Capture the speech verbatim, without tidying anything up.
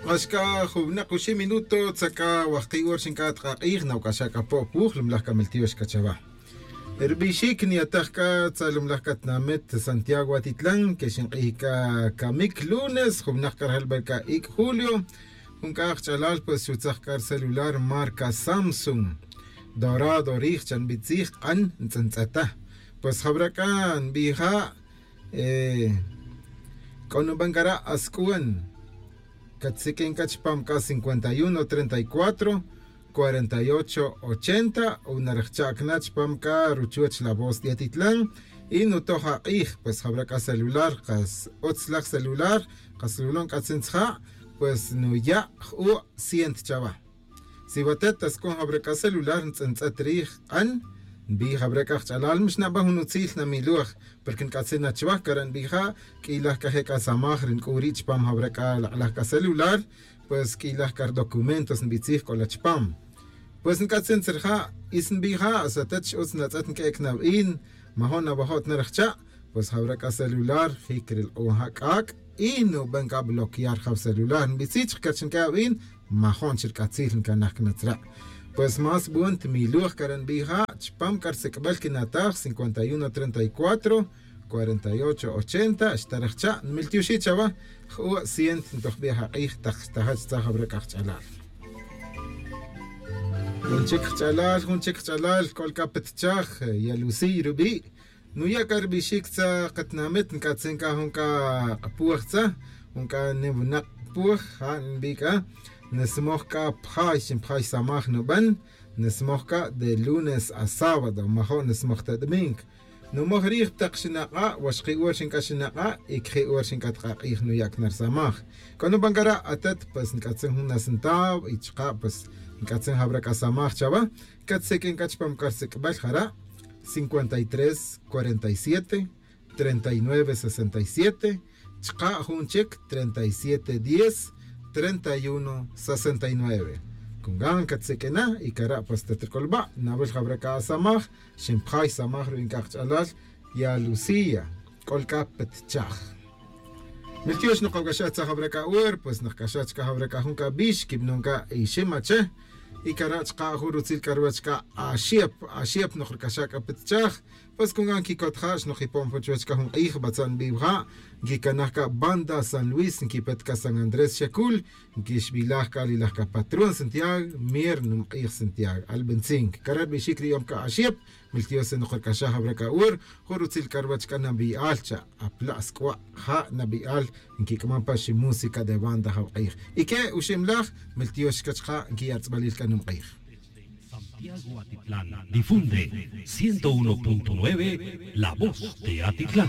K'ax c'a jun winak oxib minuto tzak'a wajki' hora xinc'at k'ak'ij nawac'axa c'a po' puj lumlaj c'a miltiox c'a chawa. Ri bixic niyataj c'a tzalumlaj c'a tinamit santiago atitlan que xink'ij c'a camic lunes jun winak c'a rajal bel c'a ic' julio. Jun c'a kach'alal pues xutzaj c'a ri celular marca samsung dorado rij cha nbitzij k'an ntz'entz'eta. Pues jawra c'a nbija'. C'o nuban c'a ra' asc'uan catsiq'uin c'a chupam c'a cincuenta y uno treinta y cuatro cuarenta y ocho ochenta o narajcha'c na chupam c'a ruchuoch la voz de atitlan. Y nutoj ak'ij pues jawra c'a celular kas utz laj celular, kas lulon c'atzin tzija', pues nuya' j'u' ciento chawa. Si watet tascon jawra c'a celular ntz'entz'et rij k'an nbij jawra c'a kach'alal mix naban jun utzil namiloj. Porque nc'atzin na chuwaj cara' nbija' q'uiylaj c'a je' c'a samaj ri nc'u ri' chupam jawra c'a lak'laj c'a celular. Pues q'uiylaj c'a ri documentos nbitzij c'o la chupam. Pues nc'atzin tzirija' y si nbija' satet x'utz natz'et nq'uec' na win majo' nawajo' ta narajcha'. Pues jawra c'a celular jic ri lk'o ja c'ac' y nuban c'a bloquear jaw celular nbitzij chik c'a chi nq'ue awin. Majo' chi ri c'atzil ncanaj c'a natzra'. Pues más bon timiloj cara' nbija' chupam c'a ri sic'bel quinataj cincuenta y uno treinta y cuatro cuarenta y ocho ochenta xtarajcha' nmiltioxi' chawa. J'u' ciento ntojbi' ajk'ij tak xtaja' chtzaj jawra c'a kach'alal. Jun chic kach'alal jun chic kach'alal c'o la c'a pa tichaj yalusiy rubi'. Nuya' c'a ri bixic tza katinamit nc'atzin c'a jun c'a k'apoj tza jun c'a nim winak k'apoj ja' nbi c'a. Nismoj c'a pjay xinpjay samaj nuban. Nismoj c'a de lunes a sábado majo' nismoj ta domingo. Numoj rij tak xinak'a' waxki' hora xinc'a xinak'a' y caji' hora xinc'a ta k'ak'ij nuya' c'a na ri samaj. C'o nuban c'a ra' atet pues nc'atzin jun na centavo y chaka' pues nc'atzin jawra c'a samaj chawa. Catseq'uin c'a chupam c'a ri sic'bel jara' cincuenta y tres cuarenta y siete treinta y nueve sesenta y siete. Chaka' jun chic treinta y siete diez treinta y uno sesenta y nueve. Con gan catseq'uina y cara' pues ta tric'ulba' nawil jawra c'a asamaj. Xinpjay samaj ru'in c'a kach'alal ya lucía. C'o la c'a pa tichaj. Miltiox nokawc'axaj tzaj jawra c'a hora pues nokc'axaj chaka' jawra c'a jun c'a bix quibanon c'a ixim ache. Y cara' chaka' jun rutzil c'a ruwech c'a axep axep nokric'axaj c'a pa tichaj. Pues con gan quicot ja' xnokipon pa chuwech c'a jun k'ij batza' nbiwa ja'. Nquicanaj c'a banda san luis nquipet c'a san andrés xacul. Nquixbilaj c'a li laj c'a patrón santiago mier numk'ij santiago albentzin cara' ri bixic ri yom c'a axep. Miltiox se nokric'axaj jawra c'a hora jun rutzil c'a ruwech c'a nabi'al cha' apla' sc'ua' ja' nabi'al. Nquic'aman pa ximúsica de banda jawk'ij. Y que uximlaj miltiox c'a chaka' nquiya' tz'balil c'a numk'ij. Santiago Atitlán difunde ciento uno punto nueve. La voz de Atitlán.